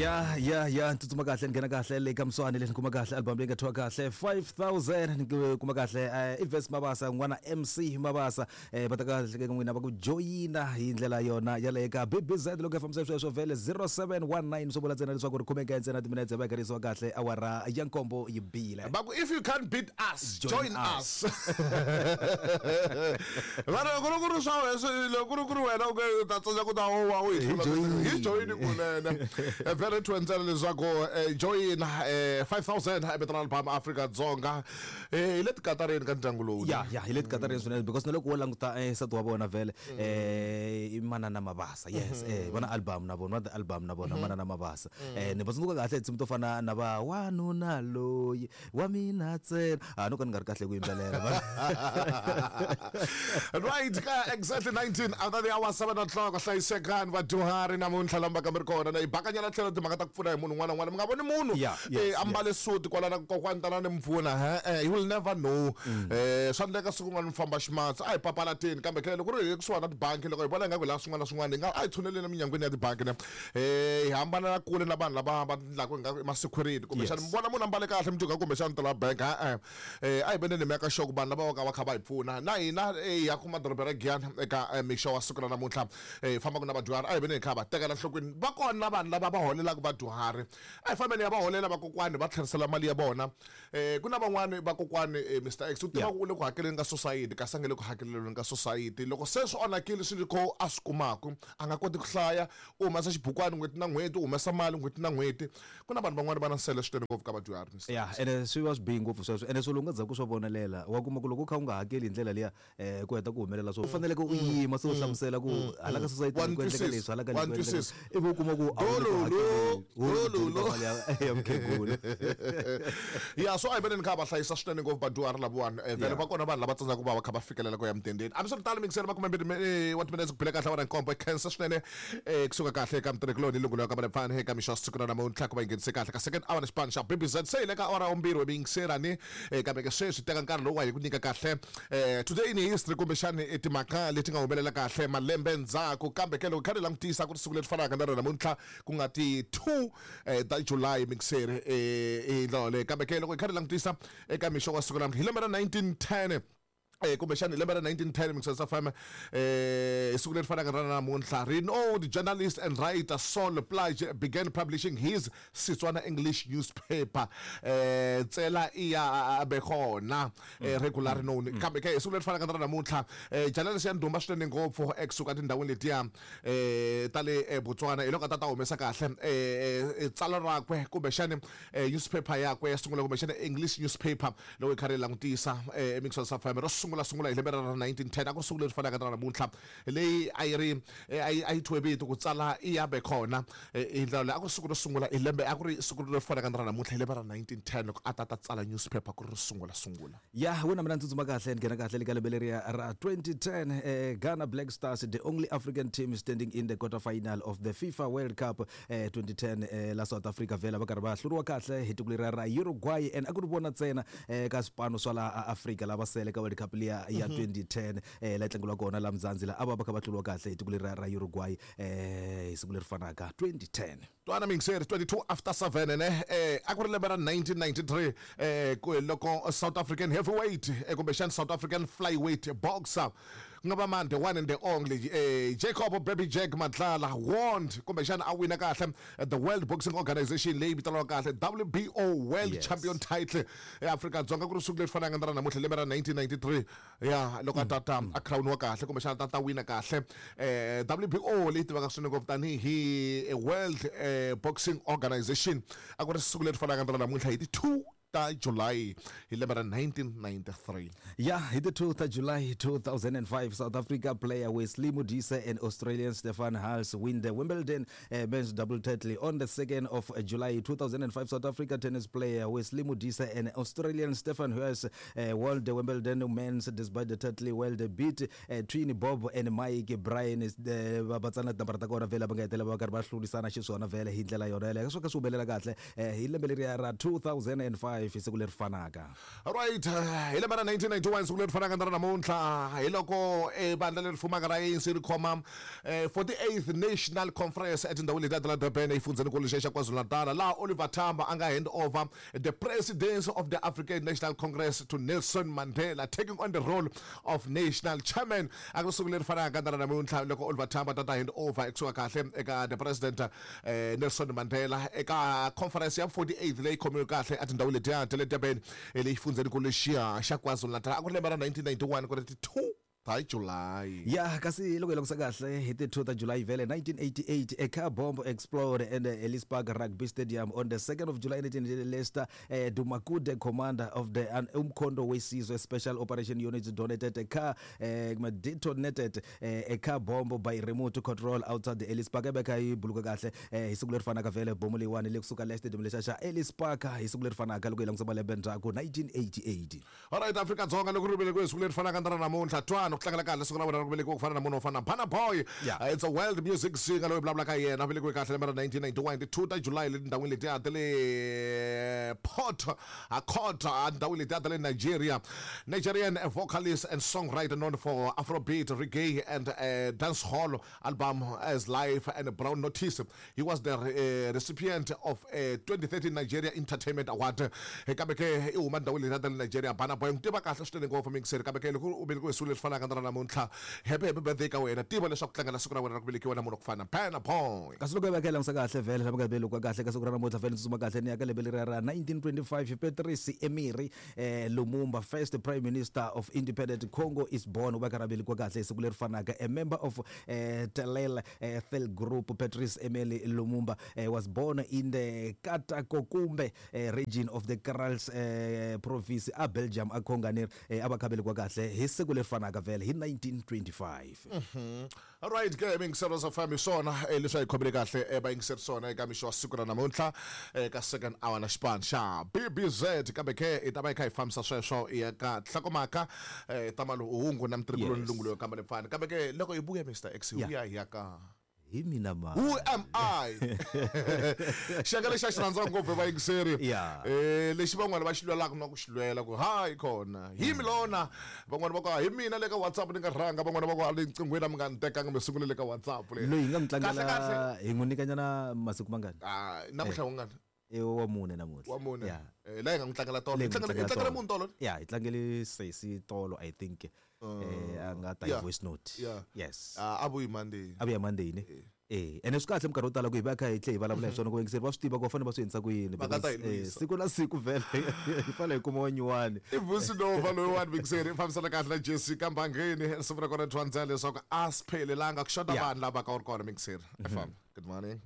Ya ya ya, ni tsutsuma kahle, ni nghena kahle le ka Mswani le ni kuma kahle album leyi nga thyiwa kahle 5000. Ni kuma kahle i Verse Mabasa n'wana MC Mabasa, va ta kahle ka n'wina va ku joyina hi ndlela yona yaleyo ka BBZ loko ya fambisa sweswo vhele 0719, swo vula ntsena leswaku ri khumeka ntsena timinetse va karisiwa kahle awara ya nkombo yi bile. Va ku if you can't beat us, join us. Vanhu loko ku ri swa wena, loko ku ri wena u u ta tsandzeka ku ta wa u hi hlula, hi joyini kunene. Vhele thwe ntsena leswaku joyina 5000 vito ra album Afrika-Dzonga. Hi le tikatareni ka ndyangu lowu. Ya, hi le tikatareni swinene, because na loko wo languta nsati wa vona vhele i Manana Mabasa. Yes, va na album na vona, va na album na vona Manana Mabasa. Ni va tsundzuka kahle tinsimu to fana na va wanuna loyi wa mina ntsena, a no ka ni nga ri kahle ku yimbelela. Right, ka exactly 19 after the hour 7 o'clock. Hlayisekani vadyuhari namuntlha lamba kambe ri kona na hi bakanyana tlhelo timhaka ta ku pfuna hi munhu un'wana na un'wana. Mi nga voni munhu ambale suti kwala na kokwani tana ni mi pfuna, he you will never know. Swa endleka siku rin'wana mi famba ximatsi, a hi papalateni. Kambe ke loko ri hi kusuhani na tibanki, loko hi vona ingaku hi lava swin'wana na swin'wana, hi nga a hi tshuneleni eminyangweni ya tibanki ne hi hambana kule na vanhu lava va endlaka ingaku i ma-security kumbexana. Mi vona munhu ambale kahle, mi twa kumbexana ta la bank, e-e. A hi veneni hi meka sure ku vanhu lava va ka va kha va hi pfuna na hina hi ya kuma doroba ra Giyani eka mixo wa siku ra namuntlha, hi fambaka na vadyuhari. A hi veneni hi kha va tekela enhlokweni. Va kona vanhu lava va holelaka vadyuhari, a hi fambeni ya va holela vakokwani, va tlherisela mali ya vona. Ku na van'wani vakokwani, Mr X, u tiva ku u le ku hakeleni ka society kasi a nge le ku hakeleleni ka society. Loko se swi onhakile swilo kho a swi kumaku, a nga koti ku hlaya, u humesa xibukwani n'hweti na n'hweti, u humesa mali n'hweti na n'hweti. Ku na vanhu van'wani va na nsele swinene ngopfu ka vadyuhari, Mr Ya, ene swi va swi bihi ngopfu sweswo, ene swilo u nga dzaku swo vonelela, wa kuma ku loko u kha u nga hakeli hi ndlela liya, ku heta ku humelela swo u faneleke u yima se u hlamusela ku hala ka society ku endleka leswi, hala ka leswi ku endleka, ivi u kuma ku a wu le ku hakeleni, wu ri ku dyeni ka mali ya mukhegula. Ya, so a hi veneni kha va hlayisa swinene ngopfu vadyuhari lavawani. Vhele va kona vanhu lava tsandzaka ku va va kha va fikelela ku ya mudendeni. Hambiswiritano, mingiseri, 20 wa timinetse ku bile kahle awara nkombo. Khensa swinene kusuka kahle eka mutirhikuloni lungulo ka Malepfani eka mixo wa siku ra namuntlha ku va yi nghenise kahle ka second hour na xipano xa BBZ. Se hi le ka awara ya vumbirhi miyingiserani, kambe ke sweswi teka nkarhi lowu wa hi ku nyika kahle today in history, kumbexani timhaka leti nga humelela kahle malembe ndzhaku. Kambe ke loko kha ni langutisa, ku ri siku leri fanaka na rona namuntlha, ku nga ti 2 ta July, mingiseri, hi ndlela yoleyo. Kambe ke loko hi kha ni langutisa eka mixo wa siku namuntlha hi lembe ra 1910, kumbexana hi lembe ra 1910, Mixers FM, hi siku leri fanaka ra namuntlha, renowned journalist and writer Sol Plaatje began publishing his Setswana English newspaper, Tsela Iya Bekona, regularly known. Kambe ke hi siku leri fanaka na ra namuntlha, journalist ya ndhuma swinene ngopfu ekusuka tindhawini letiya ta le Botswana, hi loko a ta ta humesa kahle tsalwa rakwe, kumbexani newspaper yakwe ya sungula, kumbexana English newspaper. Loko hi karhi hi langutisa emixweni swa FM ro sungula sungula hi lembe ra 1910, a ku ri siku leri fanaka na namuntlha, leyi a yi ri a yi thyiwe vito ku tsala i ya be kona. Hi ndlela leyi a ku ri siku ro sungula hi lembe, a ku ri siku leri fanaka na ra namuntlha hi lembe ra 1910, loko a ta ta tsala newspaper ku ri ro sungula sungula. Ya wena, mina ni tsutsuma kahle, ni nghena kahle le ka lembe leriya ra 2010. Ghana Black Stars, the only African team standing in the quarter final of the FIFA World Cup 2010, la South Africa vhela va karhi va hluriwa kahle hi tiko leriya ra Uruguay, and a ku ri vona ntsena ka swipano swa laha Afrika lava sele ka World Cup liya ya 2010, la yi tlangeliwa kona la Mzansi, la a va va kha va hluriwa kahle hi tiko leriya ra Uruguay, hi siku leri fanaka 2010. Twana mingiseri, 22 after 7 ne. A ku ri lembe ra 1993, ku loko South African heavyweight, kumbexana South African flyweight boxer, ku nga va mani, the one and the only Jacob Baby Jack Matlala, won, kumbexana a wina kahle the World Boxing Organization leyi vitaniwaka kahle WBO World Champion title eAfrika-Dzonga. Ku ri siku leri fanaka na ra namuntlha lembe ra 1993, ya loko a tata a crown-iwa kahle, kumbexana tata wina kahle WBO leyi tivaka swinene ngopfu tanihi World Boxing Organization. A ku ri siku leri fanaka na ra namuntlha hi ti 2 ta July hi lembe ra 1993. Ya, hi ti 2 ta July 2005, South Africa player Wesley Modise and Australian Stefan Hals win the Wimbledon men's double title. On the 2nd of July 2005, South Africa tennis player Wesley Modise and Australian Stefan Hals won the Wimbledon men's despite the title world beat Twin Bob and Mike Bryan. Va tsana tinambara ta kona vhele va nga hetelela va karhi va hlurisana xiswona vhele hi ndlela yona yeleyo, swo ka swi humelela kahle hi lembe leriya ra 2005. 1995 hi siku leri fanaka. Right, hi lembe ra 1991 siku leri fanaka na ra namuntlha hi loko vandla leri fumaka ra ANC ri khoma 48th National Conference etindhawini letiya ta la Durban exifundzhenikulu xa KwaZulu-Natal, laha Oliver Tambo a nga hand over the presidency of the African National Congress to Nelson Mandela, taking on the role of national chairman. A ku ri siku leri fanaka na ra namuntlha loko Oliver Tambo ta ta hand over ekusuka kahle eka the president Nelson Mandela eka conference ya 48th leyi khomiwe kahle etindhawini letiya ta le Durban leyi xifundzhenikulu lexiya xa KwaZulu-Natal. A ku ri lembe ra 1991 ku ri ti 2 ta July. Ya, kasi loko hi langutisa kahle hi ti 2 ta July vhele 1988, a car bomb exploded at the Ellis Park Rugby Stadium. On the 2nd of July 1988, Lester Dumakude, commander of the Umkhonto weSizwe Special Operation Unit, donated a car detonated a car bomb by remote control outside the Ellis Park. Ebeka yi buluka kahle hi siku leri fanaka vhele bomo leyiwani le kusuka le stadium lexa xa Ellis Park hi siku leri fanaka loko hi langutisa malembe ndzhaku 1988. Alright, Afrika-Dzonga loko ri velekiwe siku leri fanaka na ra namuntlha, twani ku tlangela kahle siku ra wena ra ku velekiwa ku fana na munhu wo fana na Burna Boy. It's a world music singer loyi vulavulaka hi yena, velekiwe kahle lembe ra 1991 ti 2 ta July le tindhawini letiya ta le Port Harcourt, endhawini letiya ta le Nigeria. Nigerian vocalist and songwriter known for Afrobeat, reggae and dancehall album as Life and Brown Notice. He was the recipient of a 2013 Nigeria Entertainment Award. Kambe ke i huma ndhawini leyi ta le Nigeria. Burna Boy n'wi tiva kahle swinene ngopfu mingiseri, kambe ke loko u velekiwe siku leri fanaka na ra namuntlha, happy happy birthday ka wena. Tiva leswaku tlangela siku ra wena ra ku velekiwa na munhu wa ku fana Burna Boy. Kasi loko hi va hi langutisa kahle vhele lama nga velekiwa kahle ka siku ra namuntlha vhele, tsutsuma kahle ni ya ka lembe leriya ra 1925, Patrice Emery Lumumba, first prime minister of independent Congo, is born. U va karhi a velekiwa kahle hi siku leri fanaka. A member of Telel Thel Group, Patrice Emery Lumumba was born in the Katakokumbe region of the Krals province a Belgium a Congo a va kha velekiwa kahle hi siku leri fanaka vhele hi 1925. Alright ke mingiselo swa fambi swona leswi a hi khomile kahle vayingiseri swona eka mixo wa siku ra namuntlha ka second hour na xipano xa BBZ, kambe ke hi ta va hi kha hi fambisa sweswo hi ya ka nhlokomhaka ta maluhungu na mitirhikuloni lungu leyo kamba lepfani, kambe ke loko hi vuya Mr X hi vuya hi ya ka hi mina ma Who am I? Xiyenge lexi a xi rhandziwa ngopfu hi vayingiseri. Lexi van'wana va xi lwelaka na ku xi lwela ku hayi kona hi mi lona, van'wana va ku hi mina le ka WhatsApp ni nga rhanga, van'wana va ku a le nqinghweni a mi nga ni tekanga mi sungule le ka WhatsApp le. Loyi hi nga n'wi tlangela hi n'wi nyikanyana masiku mangani? Namuntlha wu ngani? I wa mune namuntlha. Wa mune. La hi nga n'wi tlangela tolo. Hi tlangele munhu tolo? Ya, hi tlangele sesi tolo, I think. A nga ta hi voice note. Yes. A vuyi Monday. A vuya Monday ne? Ene swi kahle minkarhi yo tala ku hi va kha hi tlhe hi vulavula hi swona ku vayingiseri va swi tiva ku va fanele va swi endlisa ku yini. Va nga ta hi lwisa. Siku na siku vhele hi fanele hi kuma wa nyuwani. I Vusi Nova loyiwani mingiseri i fambisana kahle na Jessica Mbangeni. Risimu ra kona Twandzela leswaku a swi phelelanga ku xota vanhu lava ka u ri kona mingiseri. Famba. Good morning.